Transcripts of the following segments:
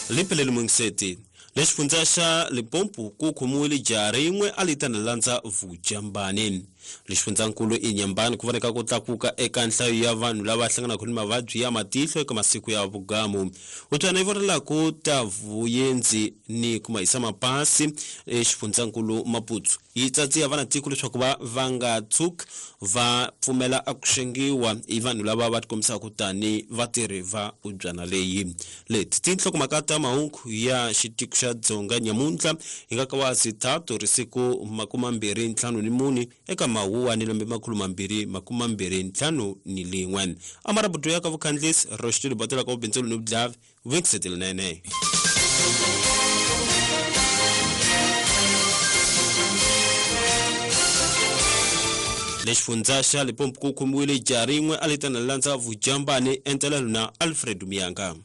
Liphelele Mungiseti lexifundza xa Limpopo ku khomiwile jaha rin'we a li tana landza vujambani. Lexifundzankulu Inhambane ku voneka ku tlakuka eka nhlayo ya vanhu lava hlanganaka ni mavabyi ya matihlo eka masiku ya vugamu. Utswana yi vonelaku ta vuyendzi ni ku mahisa mapasi exifundzankulu Maputo yi tsatsiya vanatiko leswaku va nga tshuki va pfumela a ku xengiwa hi vanhu lava va tikombisaka tani vatirhi va ubyana leyi. Leti tinhlokomhaka ta mahungu ya xitiko xa Dzonga nyamuntlha hi nga ka wa 3 risiku 24 eka Mawuwa ni lembe 2021. Amarabuto ya ka vukhandlisi Roxitulu Batela ka vubindzulu ni vudlavi Vinkisetelinene. Lexifundza xa Limpopo ku khomiwile jaha rin'we a li tana landza vujambani entelelo na Alfred Miyanga.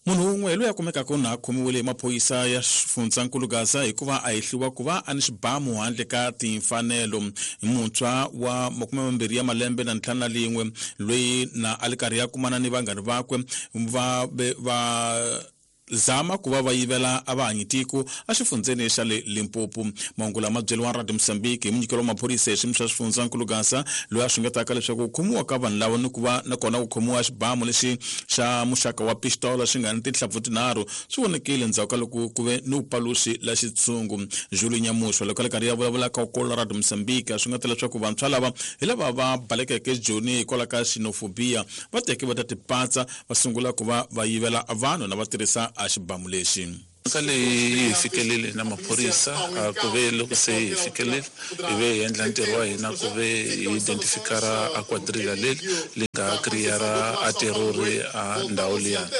Munhu wun'we loyi a kumekaka na khomiwile hi maphorisa ya xifundzankulu Gaza hikuva a hehliwa ku va a ni xibamu handle ka timfanelo. Muntshwa wa 25 ya malembe na 51 loyi na a li karhi ya kumana ni vanghani vakwe va va zama ku va va yivela a va hanyitiko exifundzeni xa le Limpopo. Mahungu lama byeriwa Radio Mozambique hi munyikelo wa maphorisa hi xiyimo xa xifundzankulu Gaza loyi a xungetaka leswaku ku khomiwa ka vanhu lava ni ku va nakona ku khomiwa xibamu lexi xa muxaka wa pistola xi nga ni tinhlampfu tinharhu swi vonekile endzhaku ka loko ku ve ni vupaluxi la xitshungu. Julie Nyamushwa loko a le karhi ya vulavula ka Kola Radio Mozambique a xungeta leswaku vantshwa lava hi lava va balekeke Joni hikwalaho ka xenophobia va teke va ta tipatsa va sungula ku va va yivela vanhu na va tirhisa a xibamu lexi. Mhaka leyi yi fikelele na maphorisa ku ve loko se hi fikelele hi ve hi endla ntirho wa hina ku ve hi identifikara a quadrilla leri li nga kriyara a terrori a ndhawu liyani.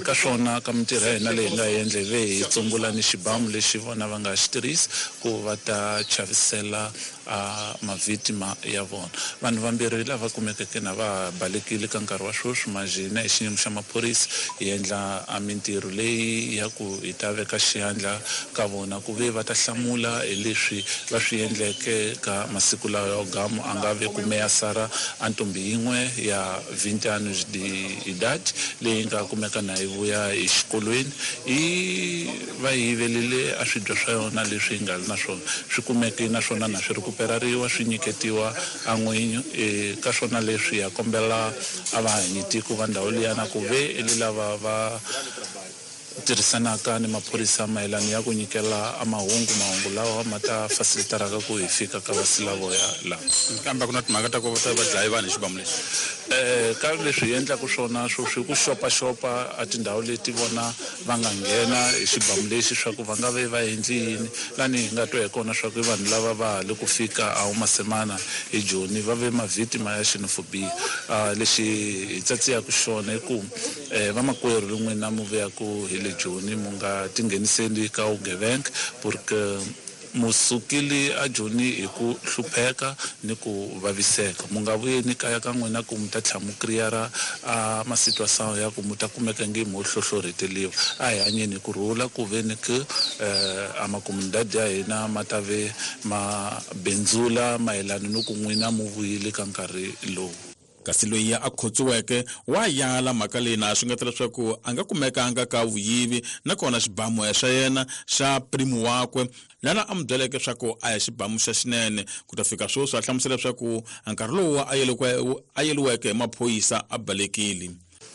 Ka swona ka mintirho ya hina leyi hi nga yi endla hi ve hi tsumbula ni xibamu lexi vona va nga xi tirhisi ku va ta chavisela a mavhitima ya vona. Vanhu vambirhi lava kumekeke na va balekile ka nkarhi wa sweswi manjhe hina hi xiyimo xa maphorisa hi endla a mintirho leyi ya ku hi ta veka xiyandla ka vona ku ve va ta hlamula hi leswi va swi endleke ka masiku lawa ya gamu a nga ve ku meyasara a ntombi yin'we ya 20 anos de idade leyi nga kumeka na yi vuya hi xikolweni yi va yivelile a swidya swa yona leswi nga ri na swona swi kumeke naswona na swi rikuperariwa swi nyiketiwa a n'winyi. Ka swona leswi ya kombela a va hanyitiko va ndhawu liyana ku ve i lava va tirhisanaka ni maphorisa mayelana ya ku nyikela a mahungu mahungu lawa ma ta facilitaraka ku hi fika ka vasilavoya lava. Kambe ku na timhaka ta ku va ta va dlayi vanhu hi xibamu lexi. Ka leswi hi endlaka swona sweswi ku xopaxopa a tindhawu leti vona va nga nghena hi xibamu lexi swa ku va nga ve va endli yini lani hi nga twa hi kona swa ku i vanhu lava va ha le ku fika a Umasemana hi Joni va ve mavhitima ya xenophobia. Lexi hi tsatsiyaka xona i ku vamakwerhu n'wina mu vuyaku hi le Joni mu nga tingheniseli ka vugevenga porque mu sukile a Joni hi ku hlupheka ni ku vaviseka. Mu nga vuyeni kaya ka n'wina ku mu ta tlhela mu kriyara a masituação ya ku mu ta kumeka nge mo hlohlorheteliwa. A hi hanyeni hi ku rhula ku ve ni ku a makomunidade ya hina ma ta ve ma bindzula mayelana ni ku n'wina mu vuyile ka nkarhi lowu. Kasi loyi a khotsiweke wa yala mhaka leyi na xungeta leswaku a nga kumekanga ka vuyivi nakona xibamu xa yena xa primo wakwe lana a n'wi byeleke leswaku a hi xibamu xa xinene. Ku ta fika sweswi a hlamusela leswaku nkarhi lowu a yeliweke hi maphorisa a balekile.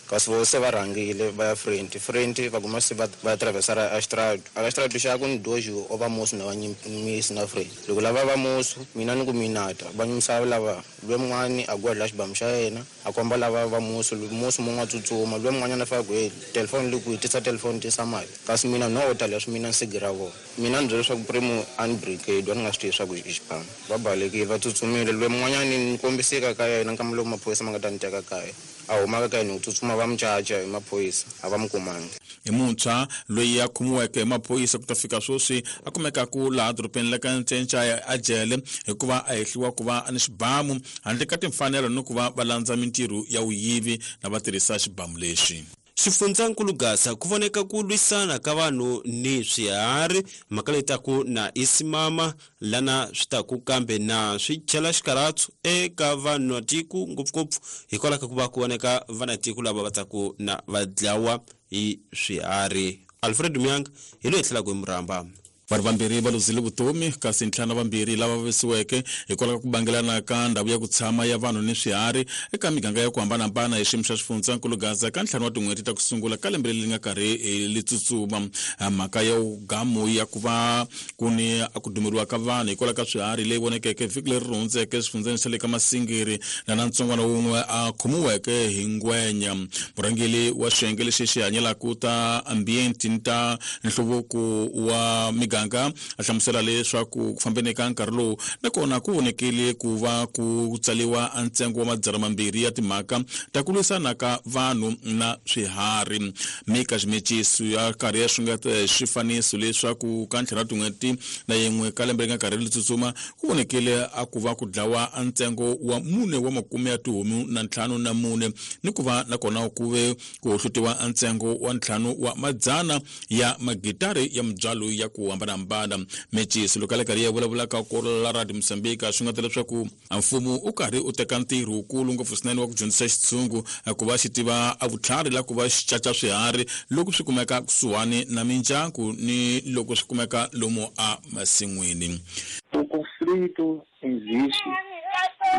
Kasi vo se va rhangile va ya front front va kuma se va traversara a xitrado a xitrado xa ku ni dojo o va musi na va nyimisi na front loko lava va musi mina ni ku minata va nyimisa lava lwe mun'wani a gwedla xibamu xa yena a komba lava va musi musi mun'we a tsutsuma lwe mun'wanyana a fika ku hey telefoni le kwihi tisa telefoni tisa mali kasi mina no ta leswi mina ni sigira vona mina ni byela leswaku primo a ni brigade a ni nga swi tivi leswaku i xibamu va balekile va tsutsumile lwe mun'wanyani ni kombiseka ka yena nkama lowu maphorisa ma nga ta ni teka kaya a humaka ka yena ku tsutsuma va mucaca hi maphorisa a va mu kumangi. Hi muntshwa loyi a khomiweke hi maphorisa ku ta fika sweswi a kumekaku laha dorobeni la ka Ncencaya a jele hikuva a hehliwa ku va ni xibamu handle ka timfanelo ni ku va va landza mintirho ya vuyivi na va tirhisa xibamu lexi. Xifundzankulu Gaza ku voneka ku lwisana ka vanhu ni swiharhi mhaka leyi taku na isimama lana swi taku kambe na swi chela xikaratsu eka vanhu tiko ngopfungopfu hikwalaho ka ku va ku voneka vanatiko lava va taku na va dlawa hi swiharhi. Alfred Myang hi loyi tlhelaka hi murhamba. Vanhu vambirhi va luzile vutomi kasi ntlhanu vambirhi lava vavisiweke hikwalaho ka ku bangelana ka ndhawu ya ku tshama ya vanhu ni swiharhi eka miganga ya ku hambanahambana hi xiyimo xa xifundzankulu Gaza ka ntlhanu wa tin'hweti ta ku sungula ka lembe leri nga karhi li tsutsuma. Mhaka ya gamu ya ku va ku ni a ku dumeriwa ka vanhu hikwalaho ka swiharhi leyi vonekeke vhiki leri ri hundzeke swifundzeni swa le ka Masingiri na na ntsongwana wun'we a khomiweke hi ngwenya. Murhangeri wa xiyenge lexi xi hanyelaka ta ambiente ni ta nhluvuko wa miganga a hlamusela leswaku ku fambeni ka nkarhi lowu nakona ku vonekile ku va ku tsaliwa ntsengo wa 200 ya timhaka ta ku lwisana ka vanhu na swiharhi. Mika Ximechiso ya karhi ya xungeta xifaniso leswaku ka ntlhanu wa tin'hweti na yin'we ka lembe ri nga karhi ri tsutsuma ku vonekile a ku va ku dlawa ntsengo wa 4 wa makume ya tihomu na 54 ni ku va nakona ku ve ku hohlutiwa ntsengo wa 5 wa madzana ya magitari ya mibyalo ya ku hambanahambana. Meciso loko a le karhi ya vulavulaka ku la Radio Mozambique swi nga ta leswaku mfumo u karhi u teka ntirho wukulu ngopfu swinene wa ku dyondzisa xitshungu ku va xi tiva a vutlhari la ku va xi caca swiharhi loko swi kumeka kusuhani na mindyangu ni loko swi kumeka lomu a masin'wini. O conflito existe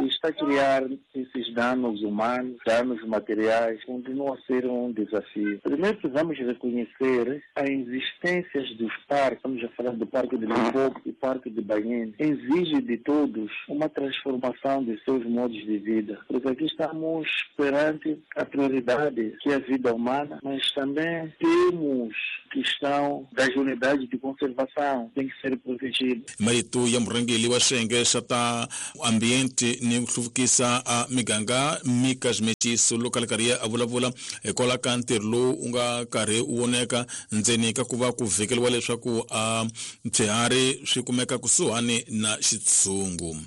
e está a criar esses danos humanos, danos materiais, continua a ser um desafio. Primeiro precisamos reconhecer a existência dos parques, estamos a falar do Parque de Limpopo e Parque de Banhene, exige de todos uma transformação de seus modos de vida, porque aqui estamos perante a prioridade que é a vida humana, mas também temos questão das unidades de conservação, tem que ser protegido. Marito ya murhangeri wa xiyenge xa ta ambiente ni ku hluvukisa a miganga Mika Ximechiso loko a le karhi a vulavula hikwalaho ka ntirho lowu u nga karhi wu voneka ndzeni ka ku va ku vhikeliwa leswaku a swiharhi swi kumeka kusuhani na xitshungu.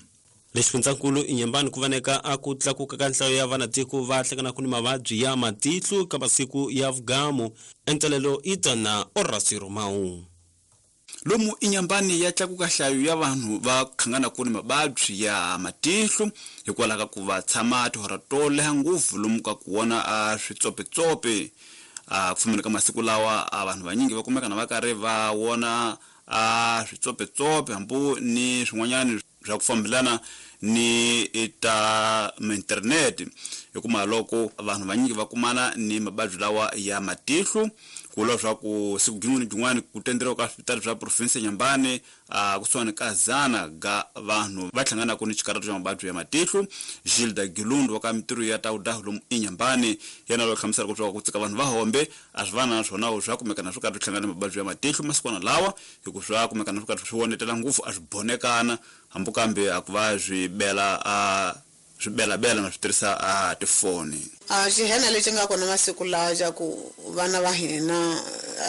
Lexifundzankulu Inhambane ku voneka a ku tlakuka ka nhlayo ya vanatiko va hlanganaka ni mavabyi ya matihlo ka masiku ya vugamu. Entelelo itana Horacio Romão. Lomu Inhambane ya tlakuka nhlayo ya vanhu va khanganaka ni mavabyi ya matihlo hikwalaho ka ku va tshama tihora to leha ngopfu lomu ka ku vona a switsopetsope. A ku fambeni ka masiku lawa a vanhu vanyingi va kumeka na va karhi va vona a switsopetsope hambi ni swin'wanyana swa ku fambelana ni ta internet, hikuva loko vanhu vanyingi va kumana ni mavabyi lawa ya matihlo ku vula leswaku siku rin'wana ni rin'wana ku tenderiwa ka swipitali swa province ya Inhambane a kusuhani ka 100 ga vanhu va hlanganaka ni xikarhato xa mavabyi ya matihlo. Gilda Gilundu wa ka mintirho ya ta vudahu lomu Inhambane yena loyi hlamuselaka leswaku ku tsika vanhu va hombe a swi vana na swona swa kumeka na swo karhi swi hlangana na mavabyi ya matihlo masikwana lawa, hikuva swa kumeka na swo karhi swi vonetela ngopfu a swi bonekana hambi kambe a ku va swi bela a swi belabela na swi tirhisa a tifoni. A xihena lexi nga kona masiku lawa xa ku vana va hina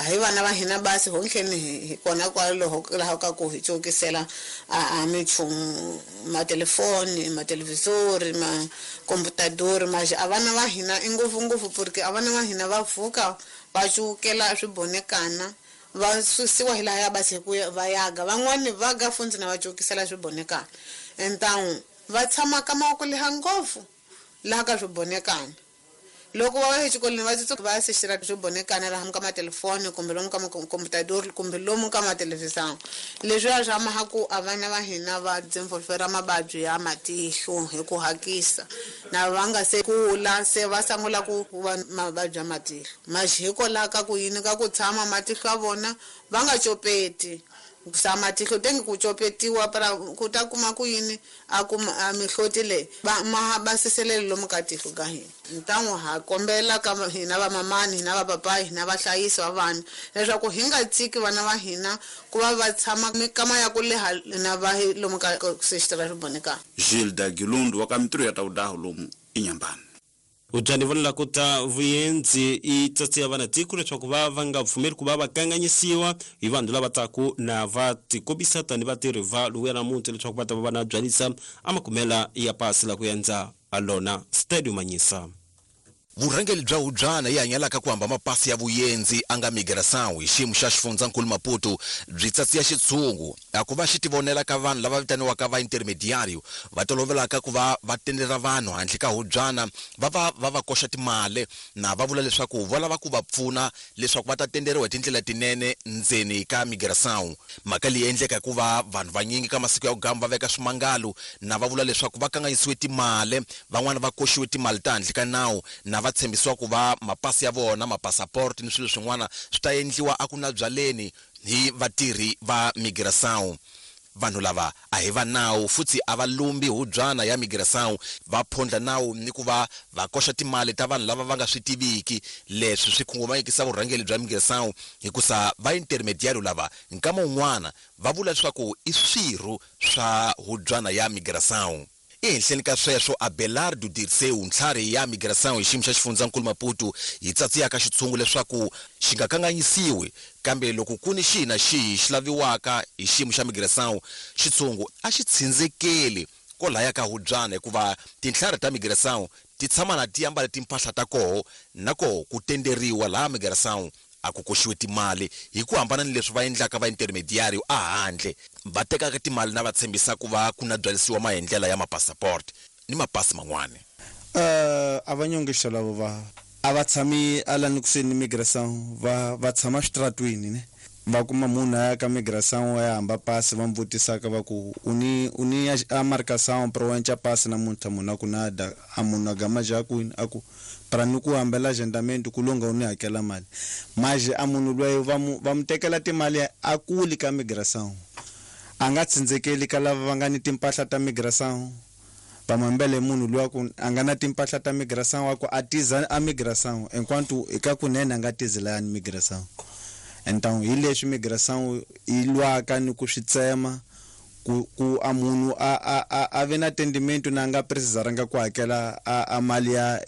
hi vana va hina basi hontlheni hi kona kwaloho laha ka ku hi cokisela a minchumu matelefoni matelevisori makomputadori maxi a vana va hina i ngopfungopfu porque a vana va hina va pfuka va cukela swibonekana va susiwa hi laha ya basi hi ku va yaga van'wani va ga fundzi na va cokisela swibonekana entan'u va tshama ka mavoko leha ngopfu laha ka swibonekana loko va ya exikolweni va tsutsuka va ya sexela swibonekana laha ka matelefoni kumbe lomu ka makomputadori kumbe lomu ka mathelevhizani. Leswiya swa maha ku a vana va hina va dzinvolvera mavabyi ya matihlo hi ku hakisa na va nga se kula se va sungula ku va mavabyi ya matihlo maxi hikwalaho ka ku yini ka ku tshama matihlo ya vona va nga copeti sa matihlo tengi ku copetiwa para ku ta kuma ku yini a kuma a mihloti leyi va ma basiselele lomu ka tihlo ka hina. Ntan'wu ha kombela ka hina va mamani hina va papayi hina vahlayisi va vana leswaku hi nga tshiki vana va hina ku va va tshama mikama ya ku leha na va lomu ka sexitara swibonekana. Gilda Gilundu wa ka mintirho ya ta vudahu lomu Inhambane. Udyani vonela ku ta vuyenzi i tsatsi ya vana tiko leswaku va va nga pfumeli ku va va kanganyisiwa hi vanhu lava taku na va tikombisa tani vatirhi va luya namuntlha leswaku va ta va va na byalisa a makumela ya pasi la ku endza a lona Stadium Manyisa. Vurhangeri bya hubyana yi hanyelaka ku hamba mapasi ya vuyendzi a nga migração hi xiyimo xa xifundzankulu Maputo byi tsatsiya xitshungu a ku va xi tivonela ka vanhu lava vitaniwaka va intermediario va tolovelaka ku va va tendera vanhu handle ka hubyana va va va va koxa timali na va vula leswaku va lava ku va pfuna leswaku va ta tenderiwa hi tindlela tinene ndzeni ka migração. Mhaka leyi endleka hikuva vanhu vanyingi ka masiku ya ku gamba va veka swimangalo na va vula leswaku va kanganyisiwe timali, van'wana va koxiwe timali ta handle ka nawu na va tshembisiwa ku va mapasi ya vona, mapasaport ni swilo swin'wana swi ta endliwa a ku na byaleni hi vatirhi va migração. Vanhu lava a hi va nawu futhi a va lumbi hubyana ya migração, va phondla nawu ni ku va va koxa timali ta vanhu lava va nga swi tiviki. Leswi swi khunguvanyekisa vurhangeri bya migração hikusa va intermediario lava nkama wun'wana va vula leswaku i swirho swa hubyana ya migração. Ehenhleni ka sweswo, Abelardo Dirceu, ntlhari ya migração hi xiyimo xa xifundzankulu Maputo, yi tsatsiyaka xitshungu leswaku xi nga kanganyisiwi, kambe loko ku ni xihi na xihi xi laviwaka hi xiyimo xa migração, xitshungu a xi tsindzekeli kwalaya ka hubyana hikuva tintlhari ta migração ti tshama na ti ambale timpahla ta koho na koho ku tenderiwa laha migração a ku koxiwe timali hi ku hambana ni leswi va endlaka va intermediario a handle va tekaka timali na va tshembisa ku va ku na byalisiwa maendlela ya mapasaport ni mapasi man'wana. A va nyongexisa lavo va a va tshami alani kusuhi ni migração, va tshama xitratwini ne, va kuma munhu a ya ka migração ya hamba pasi va n'wi vutisaka va ku u ni a marcação pro enca pasi namuntlha, munhu a ku nada a munhu a gama ja kwini a ku para ni ku hambela agendamento ku longa u ni hakela mali maje a munhu loyi va mu tekela timali a kuli ka migração, a nga tsindzekeli ka lava va nga ni timpahla ta migração, va mambele munhu loyi a ku a nga na timpahla ta migração a ku a tiza a migração enquanto eka kunene a nga tizi laya ni migração. Então hi leswi migração yi lwaka ni ku swi tsema ku a munhu a ve na tendimento na nga precisaranga ku hakela a mali ya